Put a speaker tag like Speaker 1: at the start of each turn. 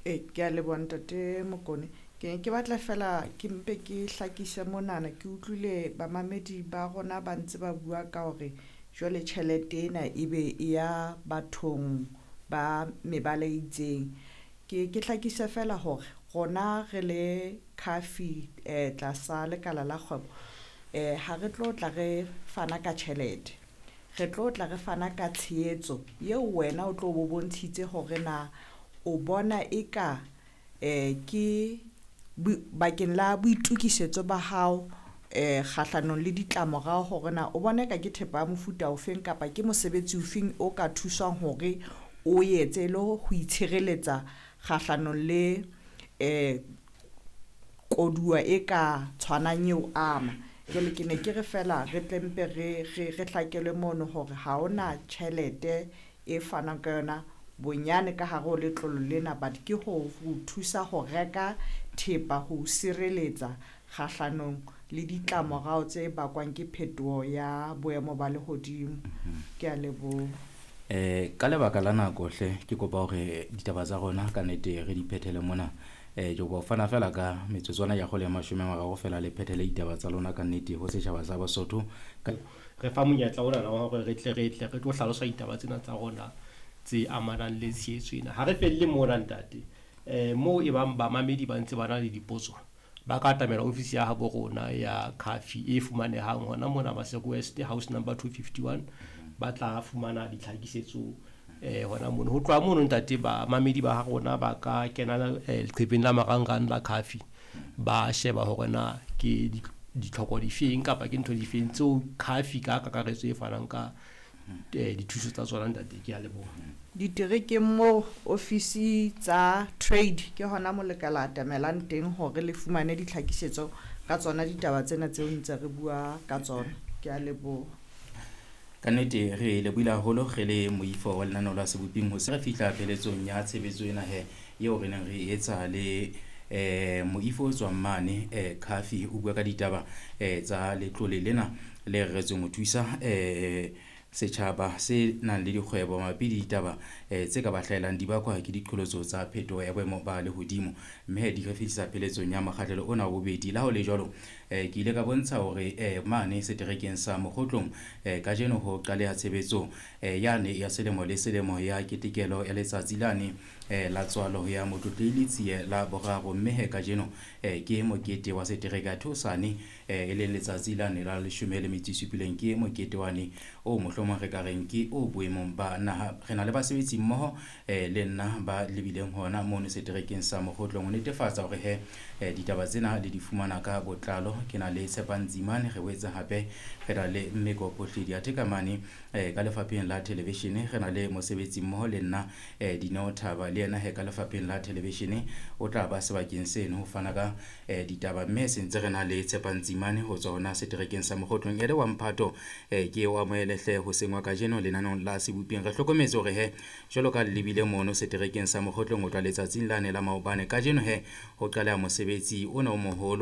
Speaker 1: Ee, ke a leboha ntate Mokone. Ke ne ke batla fela ke mpe ke hlakise monana, ke utlwile bamamedi ba rona ba ntse ba bua ka hore jwale tjhelete ena ebe e ya bathong ba mebala e itseng. Ke hlakise fela hore rona re le CAFI tlasa lekala la kgwebo, ha re tlo tla re fana ka tjhelete, re tlo tla re fana ka tshehetso eo wena o tlo bo bontshitse hore na o bona eka ke bakeng la boitukisetso ba hao kgahlanong le ditlamorao hore na o bona eka ke thepa ya mofuta ofeng kapa ke mosebetsi ofeng o ka thuswang hore o etse le ho itshireletsa kgahlanong le koduwa e ka tshwanang eo ama. Jwale ke ne ke re fela re tle mpe re hlakelwe mono hore ha hona tjhelete e fanang ka yona bonyane ka hare ho letlolo lena, but ke ho thusa ho reka thepa ho sireletsa kgahlanong le ditlamorao tse bakwang ke phetoho ya boemo ba lehodimo. Ke a leboha.
Speaker 2: Ka lebaka la nako hle, ke kopa hore ditaba tsa rona ka nnete re di phethele mona. Ke kopa ho fana fela ka metsotswana ya kgolo ya 30 fela le phethele ditaba tsa lona ka nnete ho setjhaba sa Basotho.
Speaker 3: Re fa monyetla ona wa hore re tle re tlo hlalosa ditaba tsena tsa rona tse amanang le tshehetso ena. Ha re felle mona ntate, moo e bang bamamedi ba ntse ba na le dipotso, ba ka atamela ofisi ya habo rona ya CAFI e fumanehang hona mona Maseru West, house number 251, ba tla fumana ditlhakisetso hona mono. Ho tloha mono ntate, bamamedi ba rona ba ka kena leqepheng la marangrang la CAFI, ba sheba hore na ke ditlhoko difeng kapa ke ntho difeng tseo CAFI ka kakaretso e fanang ka dithuso tsa tsona ntate. Ke a leboha.
Speaker 1: Diterekeng moo ofisi tsa trade ke hona mo le ka la atamelang teng hore le fumane ditlhakisetso ka tsona ditaba tsena tseo ntse re bua ka tsona. Ke a leboha.
Speaker 2: Ka nnete re lebohile haholo re le moifo wa lenaneo la Seboping ho se re fihla pheletsong ya tshebetso ena he eo re neng re etsa le moifo o tswang mane CAFI o bua ka ditaba tsa letlole lena le reretsweng ho thusa setjhaba se nang le dikgwebo mabapi le ditaba tse ka ba hlahelang di bakwa ke diqholotso tsa phetoho ya boemo ba lehodimo. Mme di re fihlisa pheletsong ya mokgahlelo ona wa bobedi. Le ha ho le jwalo, ke ile ka bontsha hore mane seterekeng sa Mokgotlong kajeno ho qaleha tshebetso yane ya selemo le selemo ya ketekelo ya letsatsi lane la tswalo ya Motlotlehi Letsie la boraro. Mme he kajeno ke mokete wa setereke theosane e leng letsatsi lane la 17 ke mokete wane o mohlomong re ka reng ke o boemong ba naha. Re na le basebetsi mmoho le nna ba lebileng hona mono seterekeng sa Mokgotlong ho netefatsa hore he ditaba tsena le di fumana ka botlalo. Ke na le Tshepang Tsimane, re boetse hape re na le Mmeko Phohledi athe ka mane ka lefapheng la televishene re na le mosebetsi mmoho le nna Dineo Thaba, le yena he ka lefapheng la televishene o tla ba sebakeng seno ho fana ka ditaba. Mme se ntse re na le Tshepang Tsimane ho tswa hona seterekeng sa Mokgotlong. E le wa mphato ke o amohele hle hoseng wa kajeno lenaneong la Seboping. Re hlokometse hore he jwalo ka le lebile mono seterekeng sa Mokgotlong ho tloha letsatsing lane la maobane, kajeno he ho qaleha mosebetsi ona o moholo.